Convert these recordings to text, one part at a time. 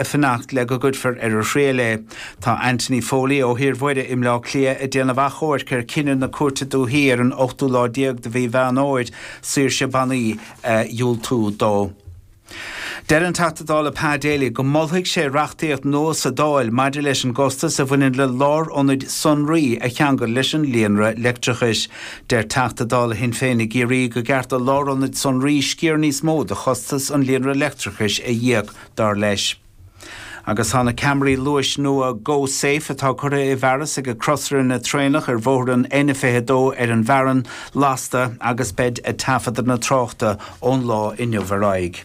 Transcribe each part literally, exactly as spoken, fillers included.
Fanacht le go gcuirfear ar a thriail é. Tá Anthony Foley ó Thír Mhuire i mBleá Cliath ag déanamh achomhairc ar chinneadh na Cúirte Dúiche ar an ochtú lá déag de mhí Mheán Fhómhair saoirse bannaí a dhiúltú dó. Deir an Teachta Dála Pa Daly go molfaidh sé reachtaíocht nua sa Dáil maidir leis an gcostas a bhaineann le lárionaid sonraí a cheangal leis an líonra leictreachais. Deir Teachta Dála Shinn Féin i gCiarraí gur cheart do lárionaid sonraí sciar níos mó de chostas an líonra leictreachais a íoc dar leis. Agus tá na ceamaraí luais nua GoSafe atá curtha i bhfearas ag crosaire traenach ar bhóthar an N fiche dó ar an bhFearann lasta agus beid ag taifeadadh na tráchta ón lá inniu ar aghaidh.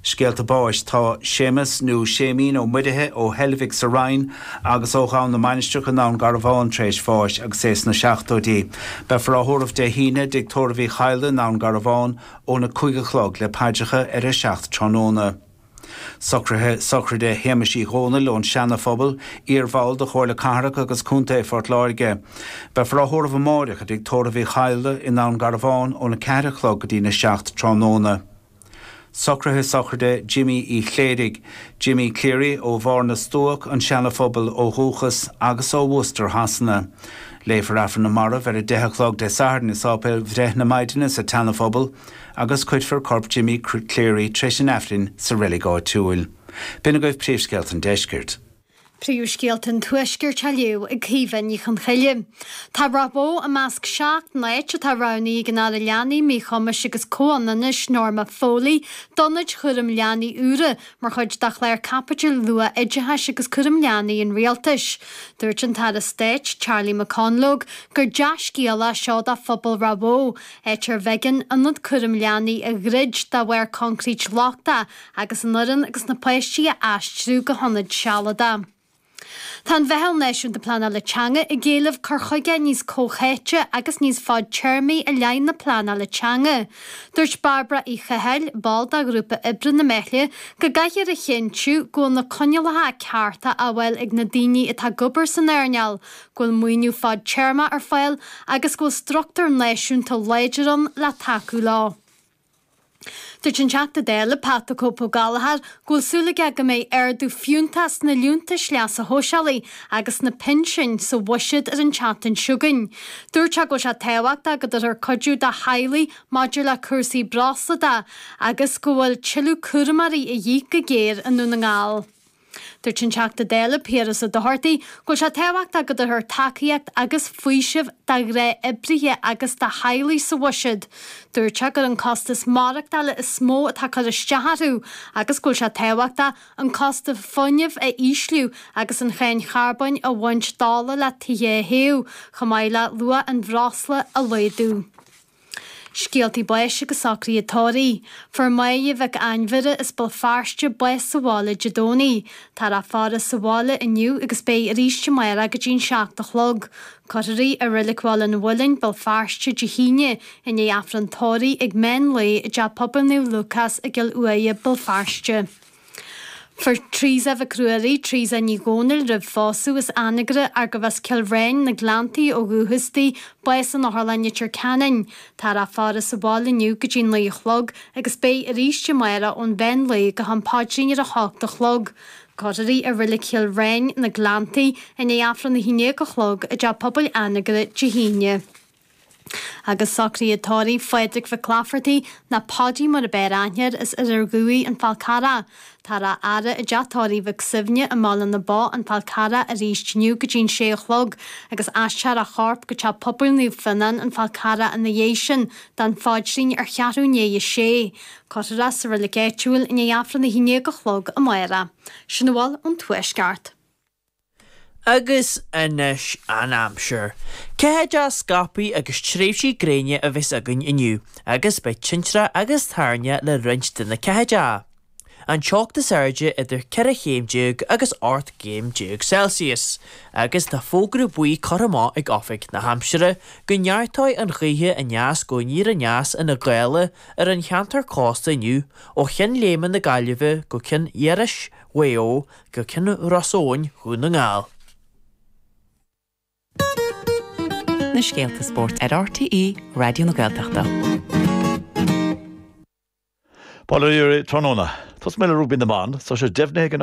Scéalta báis tá Séamus nó Séimín Ó Muirithe ó Heilbhic sa Rinn agus ó Ghabhann na Mainistreach i nDún Garbhán tar éis bháis agus é sna seachtóidí. Beifear á thórramh Dé hAoine i dTigh Tórraimh Uí Chadhla i nDún Garbhán óna cúig a chlog le paidreacha ar a seacht tráthnóna. Socruithe sochraide Shéamais Uí Dhónaill ón Seana-Phobal, iarbhall de Chomhairle Cathrach agus Contae Phort Láirge. Beifear á thórramh amárach i dTigh Tórraimh Uí Chadhla i nDún Garbhán óna ceathair a chlog go dtína seacht tráthnóna. Socruithe sochraide Jimmy Uí Chléirigh, Jimmy Cleary ó Bharr na Stuac, an Seana-Phobal ó dhúchas agus ó Worcester Shasana. Léifear Aifreann na Marbh ar a deich a chlog Dé Sathairn i Sáipéal Bhreith na Maighdine sa tSeana-Phobal agus cuirfear corp Jimmy Cleary tar éis an Aifrinn sa reilig áitiúil. B'in agaibh príomhscéalta an deiscirt. Príomhscéalta an Tuaiscirt á léamh ag Caoimhe Ní Chonchoille. Tá Ráth Bhoth i measc seacht n-áit atá roghnaithe ag an Aire Leanaí, Míchumais agus Comhionannais Norma Foley d'ionaid chúraim leanaí úra mar chuid de chlár caipitil luath-oideachais agus cúram leanaí an Rialtais. Dúirt an tAire Stáit Charlie McConalogue gur dea-scéal é seo do phobal Ráth Bhoth, áit ar bh'éigean ionad cúraim leanaí a dhruid de bharr coincréit lochtach agus an fhoireann agus na páistí a aistriú go hionad sealadach. Tá an Mheitheal Náisiúnta Pleanála Teanga ag éileamh cur chuige níos comhtháite agus níos fadtéarmaí i leith na pleanála teanga. Dúirt Bairbre Uí Chathail, ball de ghrúpa oibre na Meithle, go gcaithfear a chinntiú go bhfuil na coinníollacha cearta á bhfáil ag na daoine atá ag obair san earnáil, go bhfuil maoiniú fadtéarmach ar fáil agus go bhfuil struchtúr náisiúnta láidir ann le tacú leo. Dúirt an Teachta Dála Pat the Cope Ó Gallchóir go bhfuil súil aige go mbeidh ardú fiúntach sna liúntais leasa shóisialaigh agus sna pinsin sa bhuiséad ar an tseachtain seo chugainn. Dúirt sé go bhfuil sé tábhachtach go dtabharfar cuidiú do theaghlaigh maidir le cúrsaí breosla de agus go bhfuil tuilleadh cúramóirí a dhíth go géar i nDún na nGall. Dúirt an Teachta Dála Piaras Ó Dochartaigh go bhfuil sé tábhachtach go dtabharfar tacaíocht agus faoiseamh do ghnáthoibrithe agus do theaghlaigh sa bhuiséad. Dúirt sé gur an costas maireachtála is mó atá ag cur isteach orthu agus go bhfuil sé tábhachtach an costas fuinnimh a ísliú agus an cháin charbóin a bhaint d'ola le tithe a théamh, chomh maith le luach an bhreosla a laghdú. Scéaltaí báis agus socruithe tórraimh. Fuair Máire Mhic Ainmhire as Béal Feirste bás sa bhaile Dé Domhnaigh. Táthar á faire sa bhaile inniu agus beidh arís amárach go dtí an seacht a chlog. Cuirfear í i Reilig Bhaile an Mhuilinn, Béal Feirste, Dé hAoine, i ndiaidh Aifreann tórraimh ag meán lae i dTeach Pobail Naomh Lúcás i gCill Uaighe, Béal Feirste. Fuair Teresa Mhic Ruairí, Teresa Ní Dhomhnaill roimh phósadh as Anagaire arbh as Cill Bhréin, na Gleanntaí ó dhúchas di, bás in Otharlann Leitir Ceanainn. Táthar á faire sa bhaile inniu go dtí naoi a chlog agus beidh arís amárach ón mheán lae go ham paidrín ar a hocht a chlog. Cuirfear í i Reilig Chill Bhréin, na Gleanntaí, i ndiaidh Aifreann a haon déag a chlog i dTeach Pobail Anagaire Dé hAoine. Agus socruithe tórraimh Phádraig Mhic Laifeartaigh, nó Paudie mar ab fhearr aithne air, as Iarthar Dhuibhigh, An Fál Carrach. Táthar á fhaire i dteach tórraimh Mhic Suibhne i mBaile na Bó, An Fál Carrach, arís inniu go dtí an sé a chlog agus aistreofar a chorp go Teach Pobail Naomh Fionnán, An Fál Carrach ina dhiaidh sin don phaidrín ar cheathrú i ndiaidh a sé. Cuirfear é sa reilig áitiúil i ndiaidh Aifreann a haon déag a chlog amárach. Sin a bhfuil ón Tuaisceart. Agus anois an aimsir. Ceathaideach scaipthe agus tréimhsí gréine a bheas againn inniu agus beidh tintreach agus toirne le roinnt de na ceathaideacha. An teocht is airde idir ceithre chéim déag agus ocht gcéim déag Celsius agus tá fógra buí curtha amach ag Oifig na hAimsire go neartóidh an ghaoth aneas go aniar aneas ina gála ar an cheantar cósta inniu ó Cheann Léime na Gaillimhe go Ceann Iorrais Mhaigh Eo go Ceann Ros Eoghain Dhún na nGall. Na scéalta spóirt ar RTÉ Raidió na Gaeltachta. Bail ó Dhia oraibh tráthnóna. Tosóidh mé le rugbaí na mban, tá sé deimhnithe ag an